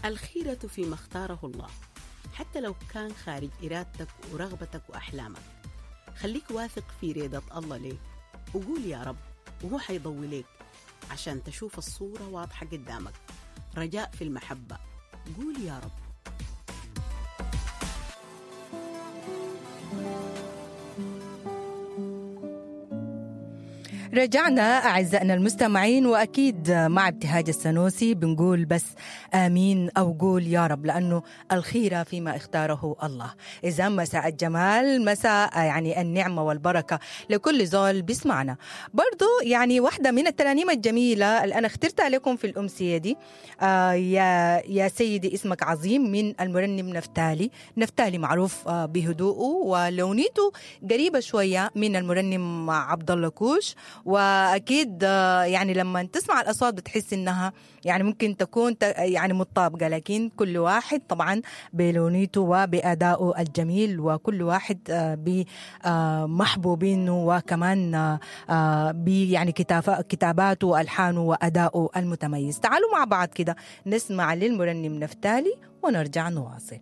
الخيرة فيما اختاره الله، حتى لو كان خارج إرادتك ورغبتك وأحلامك. خليك واثق في ريدة الله ليك، وقول يا رب وهو حيضوي ليك عشان تشوف الصورة واضحة قدامك. رجاء في المحبة، قول يا رب. رجعنا أعزائنا المستمعين، وأكيد مع ابتهاج السنوسي بنقول بس آمين أو قول يا رب، لأنه الخيرة فيما اختاره الله. إذا مساء الجمال، مساء يعني النعمة والبركة لكل زول بيسمعنا. برضو يعني واحدة من الترانيم الجميلة اللي أنا اخترتها لكم في الأمسية دي، يا سيدي اسمك عظيم، من المرنم نفتالي. نفتالي معروف بهدوءه ولونيته قريبة شوية من المرنم عبد الله كوش، واكيد يعني لما تسمع الاصوات بتحس انها يعني ممكن تكون يعني متطابقه، لكن كل واحد طبعا بلونيته وبادائه الجميل، وكل واحد بمحبوبينه، وكمان يعني كتاباته والحانه وادائه المتميز. تعالوا مع بعض كده نسمع للمرنم نفتالي ونرجع نواصل.